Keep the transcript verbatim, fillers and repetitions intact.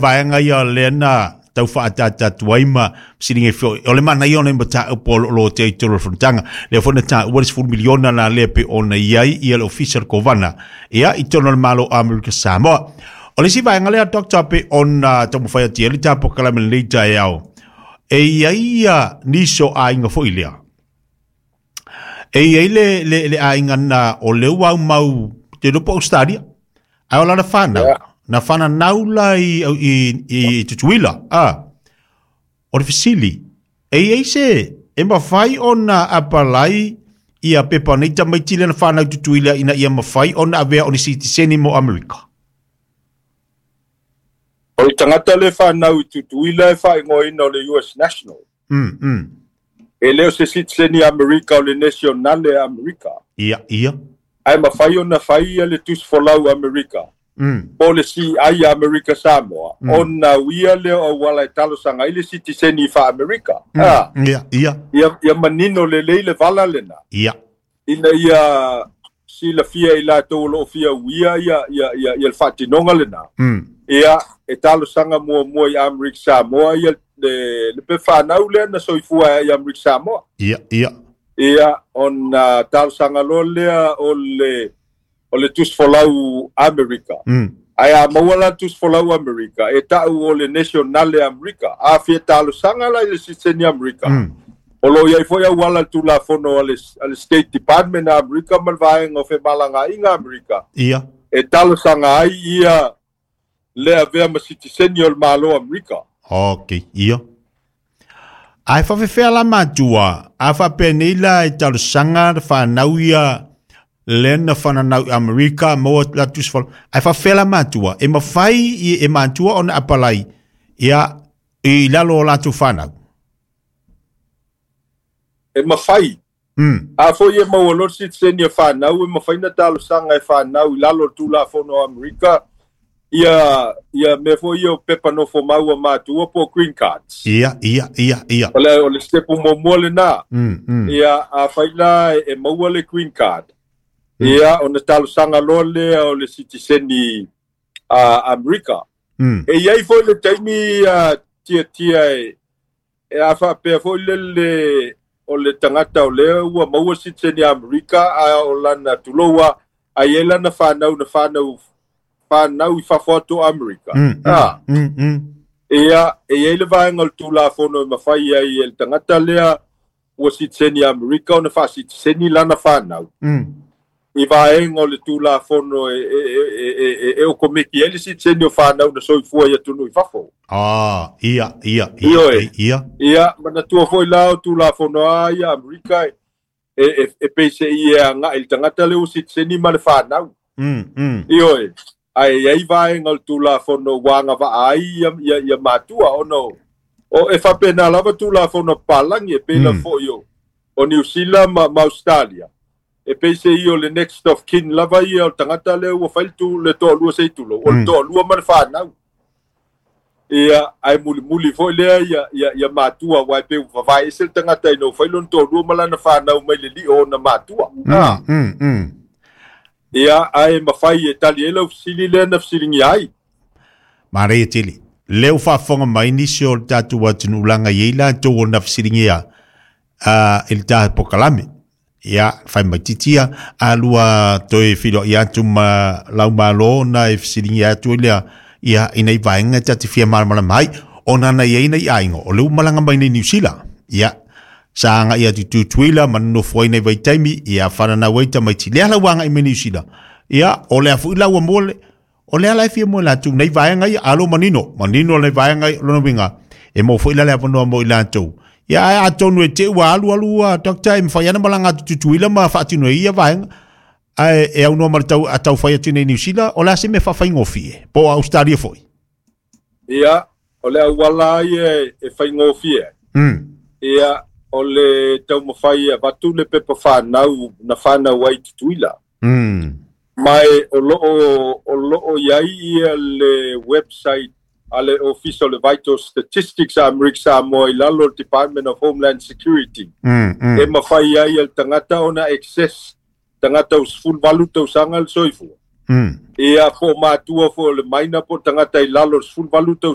Vaega ia lea na tau faatatatu ai ma fesiliga foi o le manaia ona i mataupu o loo tea i totonu o le fonotaga lea foi na taua le sefulu miliona la lea pe ona i ai ia le ofisa o le kovana ia i totonu o le Malo o Amerika Samoa. O le isi vaega lea, Doctor, pe ona taumafai atu ai le tapokalame lenei taeao e i ai ia nisi o aiga foi lea e i ai le, le, le aiga na o lea ua aumau te iloa po o Australia ae o lana fanau Yeah. na fananau la i, i, i Tutuila. A o le fesili, e i ai se e mafai ona apalai ia pepa nei tamaiti lea na fanau i Tutuila ina ia mafai ona avea o ni sitiseni mo Amerika? O le tagata le fanau i Tutuila e faaigoaina o le U S National. mm, mm. E le o se sitiseni Amerika, o le nationale Amerika. Ia, ia. Ae mafai ona fai ia le tusi folau Amerika. Mm. Po le C I Amerika Samoa. Mm. Ona uia lea o auala e talosaga ai le sitiseni faa-Amerika. Mm. Ah, Ia, ia. ia, ia manino lelei le vala lena. Ia. Ina ia silafia i latou o loo fia uia ia, ia, ia, ia le faatinoga lena. Mm. Ia, e talosaga muamua i Amerika Samoa ia le, le pe fanau lea na soifua i Amerika Samoa. Ia, ia. Ia, ona talosaga loa lea o le, o le tusi folau Amerika. Mm. Ae a maua la tusi folau Amerika, e tau o le nationale Amerika. A fia talosaga la i le sitiseni Amerika. Mm. O lo iai foi auala le tulafono a le, a le State Department a Amerika ma le vaega o femalagaaiga Amerika. Ia. E talosaga ai ia le avea ma sitiseni o le Malo Amerika. Ok, ia. Ae faafefea la matua, a faapenei la e talosaga le fanau ia lea na fananau i Amerika maua la tusi folau. Ae faafefea la matua, e mafai i- e matua ona apalai ia i lalo o latou fanau? E mafai. Mm. A foi e maua loa le sitiseni e fanau, e mafai na talosaga e fanau i lalo o le tulafono o Amerika ia ia mea foi ia o pepa nofo mau a matua po o green cards. Ia, ia, ia, ia. O le, o le stepu muamua lena. Mm, mm. Ia, a fai la e maua le green card. Ia, ona talosaga loa lea o le sitiseni a Amerika. Mm. E iai foi le taimi uh, tiatia e, e a faapea foi le, le o le tagata o lea ua maua sitiseni Amerika a o lana tuloua ai e lana fanau na fanau fanau i fafo atu o Amerika. Mm, mm, Ah, mm, mm. ia, e iai le vaega o le tulafono e mafai ai e le tagata lea ua sitiseni Amerika ona faasitiseni lana fanau. Mm. I vaega o le tulafono e, e, e, e, e, e okomeki ai le sitiseni o fanau na soifua i atunuu i fafo. Ah, ia, ia, ia, Ioe. ia. Ia, manatua foi la o tulafono a ia Amerika e, e, e peise i e agaʻi le tagata lea ua sitiseni ma le fanau. Mm, mm. Ioe. Ae iai vaega o le tulafono ua agavaa ai ia, ia, ia matua ona o, o e faapena lava tulafono papalagi e pei la Mm. foi o, o Niu Sila ma, ma Australia. E peise ia o le next of kin lava ia o le tagata lea ua fai le tu- le toalua sei tulou, o le Mm. toalua ma le fanau. Ia, ae mulimuli foi lea ia, ia, ia matua, aua e pei ua vavae ese le tagata ina ua fai lona toalua ma lana fanau mai le lio ona matua. Ah. Mm, mm. Ia, ae mafai e tali ai lau fesili lea na fesiligia ai. Manaia tele. Lea ua faafofoga mai nisi o le tatou atunuu i ai latou o na fesiligia uh, i le taha pokalame. Ia, fai mai titia, a lua toe filoai atu ma lau malo na e fesiligia atu ai lea, ia ina i vaega ta te fia malamalama ai, ona na i ai nei aiga, o le ua malaga mai nei Niu Sila. Ia, sa agaʻi atu i Tutuila ma nonofo ai nei vaitaimi, ia fananau ai tamaiti. Lea la ua agaʻi mai Niu Sila. Ia, o lea foi la ua mo le, o lea la e fia mo latou nei vaega ia, alo manino, manino nei vaega ia, lona uiga, e mo foi la le avanoa mo i latou. Ia, ae atonu e te ua alu alu a doctor e mafai ana malaga atu Tutuila ma faatino ai ia vaega. Ae e aunoa ma le tau, a tau fai atu nei Niu Sila, o le a se mea faafaigofie, po o Australia foi? Ia, o le auala ai e, e faigofie ai. Mm. Ia, o le taumafai e avatu le pepa fanau na fanau ai i Tutuila. Mm. Ma e o loo, o loo iai ia le website a le Office o le Vital Statistics a Amerika Samoa i lalo o le Department of Homeland Security. Mm, mm. E mafai ai e le tagata ona access tagata ua sefuluvalu tausaga le soifua. Mm. Ia po matua fo le maina po tagata i lalo o le sefuluvalu